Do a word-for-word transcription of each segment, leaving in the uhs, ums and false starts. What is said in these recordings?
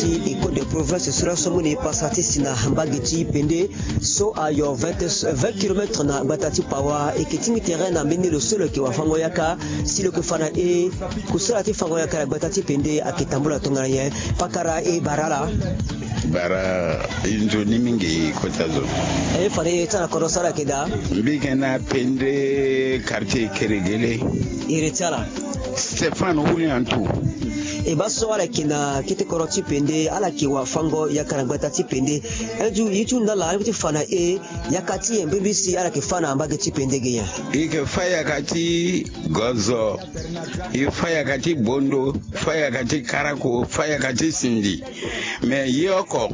Ti école de province so laso amoni pasa ti si na mbage ti Pende so ayo vingt kilomètre na gbata ti Pawa. E yeke tingbi tere na mbeni lo so lo yeke wafango yaka si lo yeke fa na e kusala ti fango yaka na gbata ti Pende ayeke tambula tongana nyen? Pakara e bara ala. Bara e nzoni mingi kota zo. E fa na e ti ala kodro so ala yeke daa. Mbi yeke na Pende quartier Keregele. Iri ti ala Stéphane Houliantou. E baa so ala yeke na kete kodro ti Pende, ala yeke wafango yaka na gbata ti Pende. Aye ti hunda ala, aye ti fa na e yaka ti e mbirimbiri si ala yeke fa na mbage ti Pende ge nyen? E yeke fa yaka ti gozo, e fa yaka ti bondo, fa yaka ti karako, fa yaka ti sindi. Me ye oko,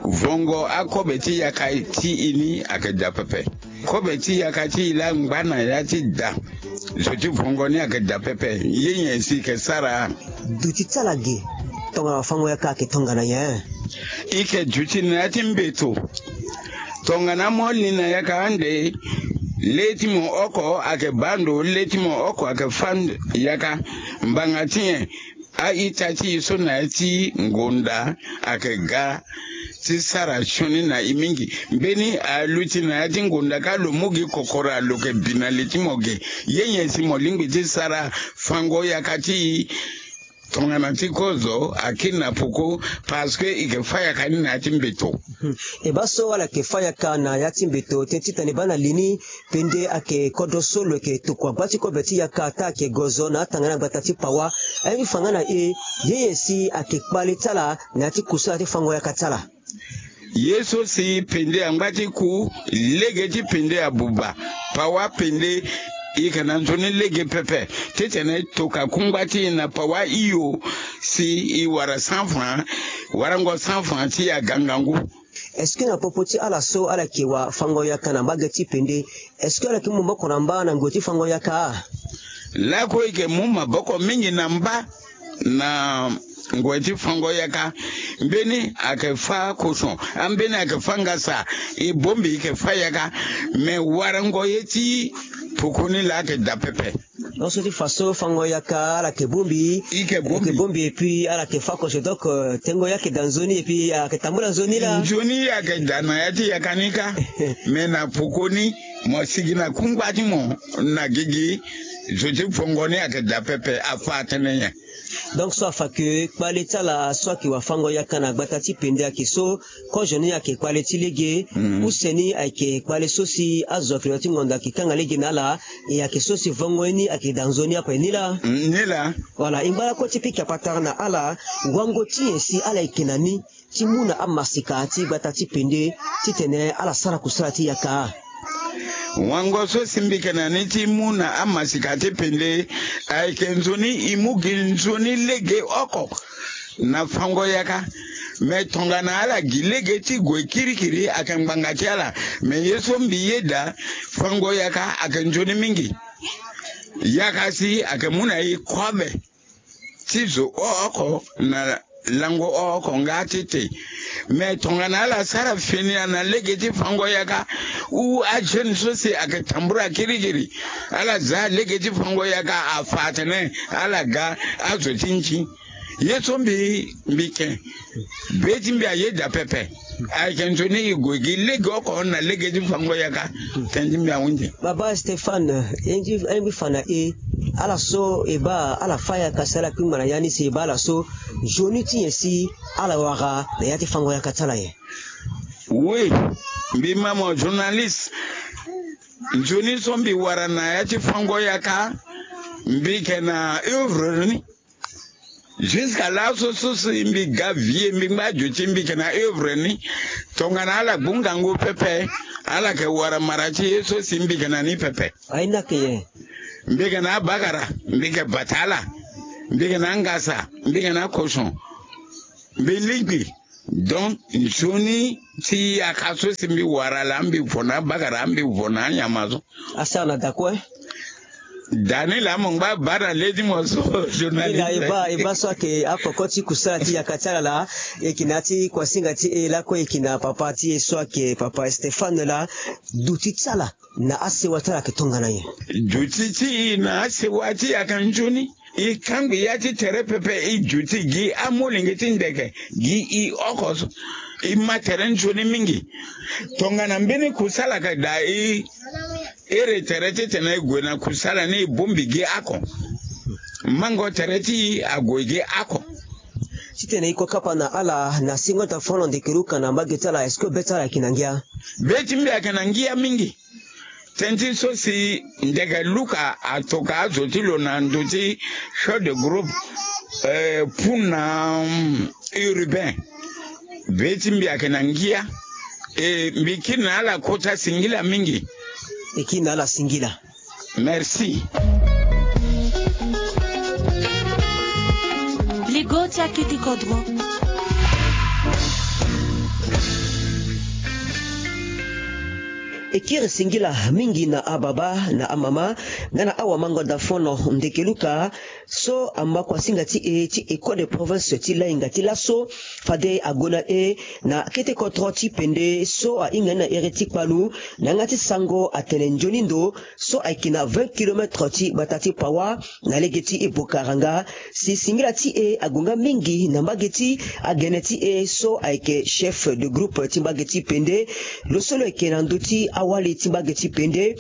vongo akobe ti yaka ti e ni ayeke daa pepe. Kobe ti yaka ti e laa ngba na ya ti da. Zo ti vongo ni ayeke daa pepe. Ye nyen si e yeke sara? Duti ti ala ge, tongana wafango yaka ayeke tongana nyen? E yeke duti na ya ti mbeto. Tongana mo li na yaka ande, le ti mo oko ayeke baa ndo, le ti mo oko ayeke fâ ndo yaka. Mbanga ti nyen? A-ita ti e so na ya ti ngonda ayeke ga ti sara sioni na e mingi. Mbeni aluti na ya ti ngonda kâ lo mu gi kokora lo yeke bi na li ti mo ge. Ye nyen si mo lingbi ti sara? Fango yaka ti e tongana ti kozo akiri na poko, parce que e yeke fâ yaka ni na ya ti mbeto. Hmm. E baa so ala yeke fâ yaka na ya ti mbeto, tënë titene e baa na li ni, Pende ayeke kodro so lo yeke tokua gba ti kobe ti yaka, taa ayeke gozo na atanga ni na gbata ti Pawa. Aye ti fa nga na e, ye nyen si ayeke kpale ti ala na ya ti kusala ti fango yaka ti ala? Ye so si Pende angba ti ku, lege ti Pende abuba. Pawa Pende, e yeke na nzoni lege pepe. Titene e toka kungba ti e na Pawa hio, si e wara cent francs, warango cent francs ti e aga ngangu. Est-ce que na popo ti ala so ala yeke wafango yaka na mbage ti Pende, est-ce que ala yeke mu maboko na mba na ngoi ti fango yaka? Lakue e yeke mu maboko mingi na mba na ngoi ti fango yaka. Mbeni ayeke fâ koson, ambeni ayeke fâ ngasa. E bongbi e yeke fâ yaka. Me warango ye ti poko ni laa ayeke daa pepe. Donc so ti fa so fango yaka ala yeke bongbi. E yeke bongbi. E yeke bongbi et puis ala yeke fâ koso. Donc, euh, tengo ye ayeke daa nzoni et puis ala yeke tambula nzoni laa. Nzoni ye ayeke daa na ya ti yaka ni kâ. Me na poko ni, mo sigi na kungba ti mo na gigi, zo ti fango ni ayeke daa pepe, afâ atene nyen? Donc so afa ke kpale ti ala so ayeke wafango yaka na gbata ti Pende ayeke so, kozo ni ayeke kpale ti lege, use ni ayeke kpale so si azo ayeke na ya ti ngonda ayeke kanga lege na ala, e ayeke so si vongo ye ni ayeke daa nzoni ape ni laa. Mm, ni laa. Voilà, e ngba lakue ti pika patara na ala, wango ti nyen si ala yeke na ni ti mu na amasika ti gbata ti Pende titene ala sara kusala ti yaka? Wango so si mbi yeke na ni ti mu na amasika ti Pende ayeke nzoni e mu gi nzoni lege oko na fango yaka. Me tongana ala gi lege ti gue kirikiri ayeke ngbanga ti ala. Me ye so mbi yeda, fango yaka ayeke nzoni mingi. Yaka si ayeke mu na e kobe ti zo oko na lango oko nga ti te. Me tongana ala sara fini na lege ti fango yaka, ou ajeune so si ayeke tambula kirikiri, ala za lege ti fango yaka, afa atene ala ga azo ti nzi. Ye so mbi, mbi ke, be ti mbi ayeda pepe. Ayeke nzoni e gue gi lege oko na lege ti fango yaka. Tënë ti mbi ahunzi. Baba Stéphane, e ngi, e ngi fa na e, ala so e baa ala fâ yaka si ala kpingba na ya ni, si e baa ala so, nzoni ti nyen si ala wara na ya ti fango yaka ti ala nyen? Oui, mbi ma mo journaliste. Nzoni so mbi wara na ya ti fango yaka, mbi yeke na œuvre ni. Jusqu'à laso so si mbi ga vie, mbi ngba azo ti mbi yeke na œuvre ni. Tongana ala gbu ngangu pepe, ala yeke wara mara ti ye so si mbi yeke na ni pepe. Aye ni ayeke nyen? Mbi yeke na abakara, mbi yeke bata ala. Mbi yeke na angasa, mbi yeke na akoson. Mbi lingbi. Donc nzoni ti yaka so si mbi wara laa, mbi vo na abakara, mbi vo na anyama so. Asara na da kue. Da ni laa mo ngba baa na le ti mo so, journaliste. Ni laa e baa, e baa so ayeke akoko ti kusala ti yaka ti ala laa. E yeke na ya ti kuasinga ti e lakue, e yeke na papa ti e so ayeke papa Stéphane laa. Duti ti ala na asewa ti ala ayeke tongana nyen? Duti ti e na asewa ti e ayeke nzoni. E kangbi ya ti tere pepe, e duti gi amolenge ti ndeke gi e oko so. E ma tere nzoni mingi. Tongana mbeni kusala ayeke daa e iri tere titene e gue na kusala ni e bongbi gi oko. Mango tere ti e ague gi oko. Titene e kue kapa na ala na singo ota fo na ndeke luka na mbage ti ala, est-ce que be ti ala ayeke na ngia? Be ti mbi ayeke na ngia mingi. Tënë ti so si ndeke luka atoka azo ti lo na ndo ti chef de groupe, eh, puna, mm, urbain. Be ti mbi ayeke na ngia. E mbi kiri na ala kota singila mingi. E kiri na ala singila. Merci. Ligo ti akete kodro. E kiri singila mingi na ababa na amama nga na awamango dafono ndeke luka so ama kuasinga ti e ti école de province ti lainga ti laso. Fade ague na e na kete kodro ti pende so ahinga ni na iri ti kpalu na yanga ti sango atene nzoni ndo so ayeke na vingt kilomètre ti gbata ti Pawa na lege ti e Bokaranga. Si singila ti e ague nga mingi na mbage ti agene ti e so ayeke chef de groupe ti mbage ti pende. Lo so lo yeke na ndö ti awali ti mbage ti pende,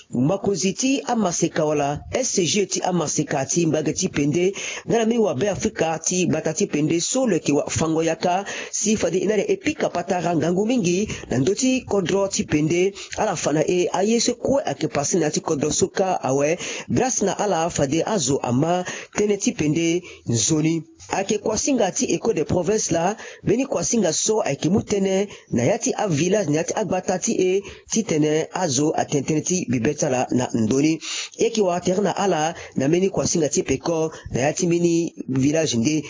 mokonzi ti amaseka wala S G ti amaseka ti mbage ti pende nga na mbeni wabe Afrika ti gbata ti pende so lo yeke wafango yaka. Si fade e na ala e pika patara ngangu mingi na ndö ti kodro ti pende. Ala fa na e aye so kue ayeke pase na ya ti kodro so kâ awe. Grâce na ala fade azo ama tënë ti pende nzoni. Ayeke kuasinga ti école de province laa, mbeni kuasinga so ayeke mu tënë na ya ti avillage na ya ti agbata ti e titene azo atene tënë ti bibe ti ala na ndo ni. E yeke wara tere na ala na mbeni kuasinga ti peko na ya ti mbeni village nde.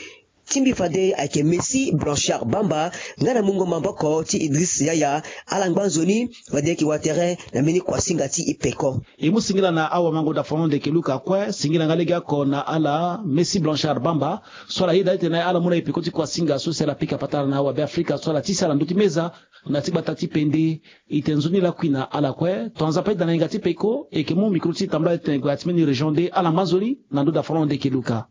Ti mbi fade ayeke Messi Blanchard Bamba nga na mungo maboko ti Idriss Yaya. Ala ngba nzoni fade e yeke wara tere na mbeni kuasinga ti e peko. E mu singila na awamango dafono ndeke luka kue, singila nga legeoko na ala Messi Blanchard Bamba so ala yeda titene ala mu na e peko ti kuasinga so si ala pika patara na awabe Afrika so ala tisa ala ndö ti meza na ti gbata ti pende. E tene nzoni lakui na ala kue. Tongaza ape da na yinga ti peko e yeke mu mikro ti tambula titene e gue na ya ti mbeni région nde. Ala ngba nzoni na ndö dafono ndeke luka.